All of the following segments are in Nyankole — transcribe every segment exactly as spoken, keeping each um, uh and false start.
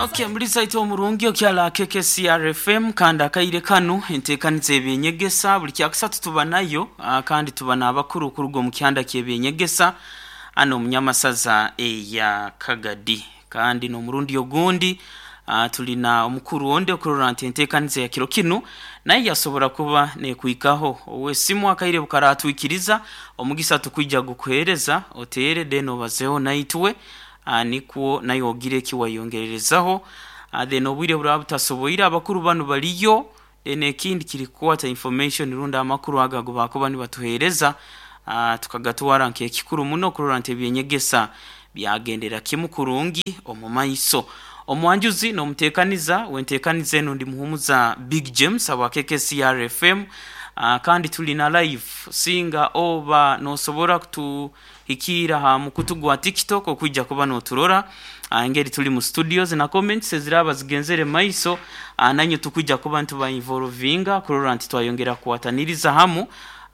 Okay, muri saito omurungi okyala K K C R F M kandi akaire kanu enteekaniza ebyenyegesa buli kyakusatu tuba nayo, ah, kandi tuba n'abakuru kuruga omu kyanda ky'ebyenyegesa ano omunyamasaza eya Kagadi. Kandi n'omurundi ogundi ah, tulina omukuru onde okurora nti enteekaniza ya kiro kinu naye yasobora kuba nekwikaho owesimu akaire bukaratwikiriza omugisa tukwija gukuhereza otere then obazeho naitwe, ah, nikwo naye ogire ekiwayongererezaho. ah, then obwire buraba butasoboire, abakuru banu baliyo. Then ekindi kiri kukwata information rundi amakuru ago ago bakuba nibatuhereza, ah, tukagatwara nk'ekikuru muno kurora nti ebyenyegesa byagendera kimu kurungi omu maiso. Omwanjuzi n'omuteekaniza wenteekaniza eno ndi Muhumuza Big James aba K K C R F M, uh, kandi tuli na live. Singa oba nosobora kutuhikiira ha mukutu gwa TikTok okwija kuba noturora uh, engeri tuli mu studios na comments eziraba zigenzere maiso, uh, nanye tukwija kuba nituba involvinga kurora nti twayongera kukwataniriza hamu,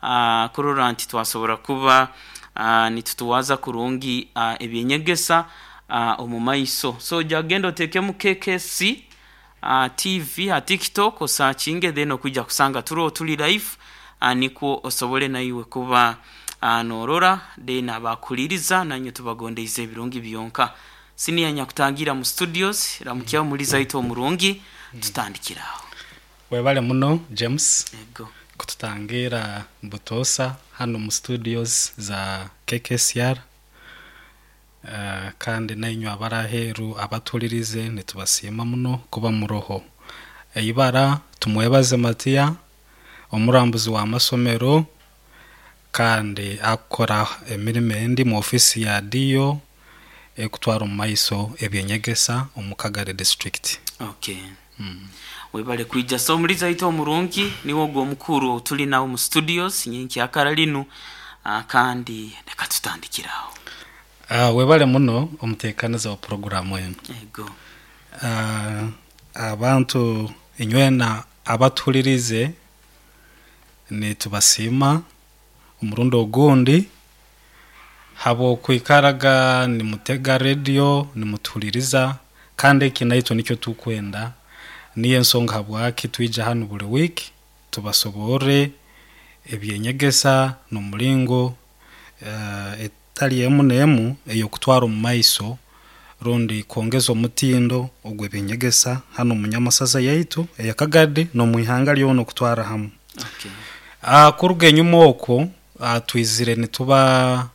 uh, kurora nti twasobora kuba uh, nitutuwaza kurungi uh, ebyenyegesa uh, omu maiso. So jagenda otekemu K K C uh, T V ha TikTok, osakinge, then okwijja kusanga turo tuli live, uh, nikwo osobole naiwe kuba uh, norora. Then abakuliriza nanye tubagondeize ebirungi byonka. Siniya nyakutangira mu studios, ramukyaho muri zaito omurungi, tutandikiraho. Webale muno, James, Ego. kututangira butosa hano mu studios za K K C R. Uh, kandi nainywe abaraheru abatulirize nitubasiima muno kuba muroho. Eibara tumwebaze Matiya, omurambuzi wa masomero kandi akora emirimo endi mu ofisi ya D O ekutwara omu maiso ebyenyegesa omu Kagadi District. Okay, webale kwija. So omulizi aita omurungi niwo ogwo omukuru tuli nawo mu studios nyenkyakara linu, ah, kandi reka tutandikiraho. Uh, webale muno omuteekaniza wa poroguramu enu. Ego. uh, abantu inywena abatuhulirize nitubasiima omurundi ogundi habwokwikaraga nimutega radio nimutuhuliriza, kandi eki naitwe nikyo tukwenda. Niyo ensonga habwaki twija hanu buli wiiki tubasoborre ebyenyegesa n'omulingo uh, etali emu n'emu ey'okutwara omu maiso rundi kwongeza omutindo ogw'ebyenyegesa hanu omu nyamasaza yaitu eya Kagadi n'omu ihanga lyona okutwara hamu. okay. Uh, kuruga enyuma okwo, uh, twizire nituba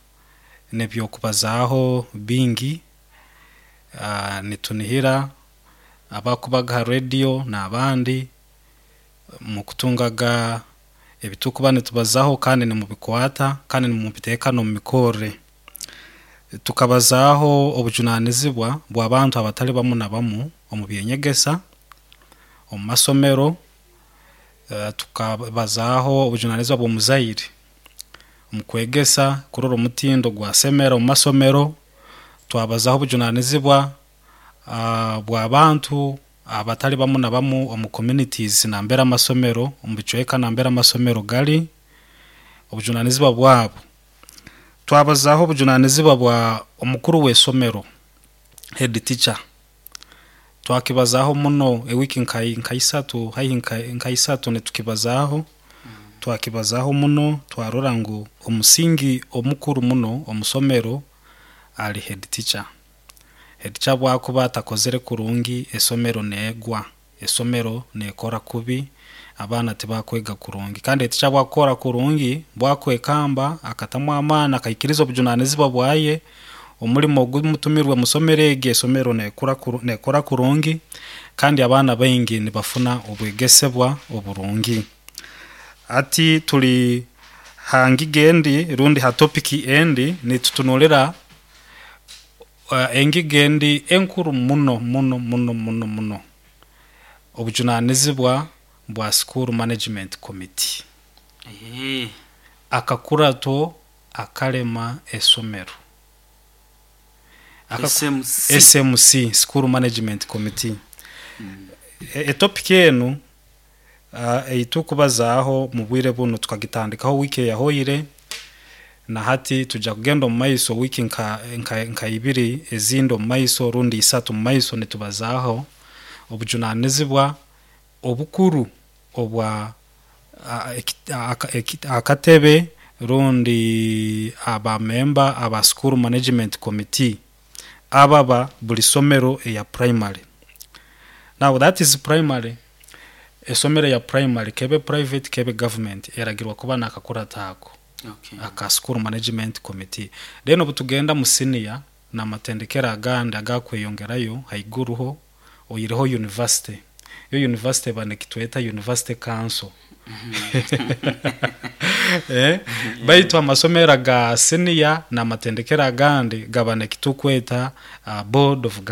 nebyokubazaaho bingi, uh, nitunihira abakubaga ha radio n'abandi mukutungaga ebitukuba nitubazaho kandi nimubikwata kandi nimubiteeka n'omu mikorre. Tukabazaaho obujunanizibwa bw'abantu abatali bamu na bamu omu byenyegesa omu masomero, uh, tukabazaaho obujunanizibwa bw'omuzaire omu kwegesa kurora omutindo gwasemera omu masomero. Twabazaho obujunanizibwa uh, bw'abantu abatali bamu na bamu omu communities nambere amasomero, omu bicweka nambere amasomero gali, obujunanizibwa bwabo. Twabazaho obujunanizibwa bwa omukuru w'esomero, head teacher. Twakibazaho muno ewiki nka nka isatu, haihi nka, nka isatu nitukibazaho. Twakibazaho muno, twarora ngu omusingi omukuru muno omusomero ali head teacher. Head teacher bwakuba atakozere kurungi, esomero neegwa, esomero nekora kubi, abaana tibakwega kurungi. Kandi head teacher bwakukora kurungi, bwakwekamba, akatamu amaani, akaikiriza obujunanizibwa bwaye, omulimo ogumutumirwe musomero egi, esomero nekura kuru- nekora kurungi kandi abaana baingi nibafuna obwegesebwa oburungi. Ati tuli hangiga endi rundi ha topic endi, nitutunulira uh, engiga endi enkuru muno muno muno muno muno, obujunanizibwa bwa school management committee, Eh, akakurato akalema esomero. Aka- S M C. S M C, school management committee. E- etopic enu uh, eitukubazaaho mu bwire buno tukagitandikaho wiiki eyahoire. Na hati tujja kugenda omu maiso wiiki nka, nka, nka ibiri ezindi omu maiso rundi isatu mu maiso, nitubazaaho obujunanizibwa obukuru obwa a- eki- aka- eki- akatebe rundi abamemba aba school management committee ababa buli somero eya primary. Now that is primary. Esomero ya primary, kebe private kebe government, eragirwa kuba nakakurata ako Okay. aka school management committee. Then obu tugenda mu senior n'amatendekero agandi agakweyongerayo haiguruho, oyireho university, yo university banekitweta university council, eh, baitu amasomero aga senior n'amatendekero agandi gaba nekitukweta uh, board of.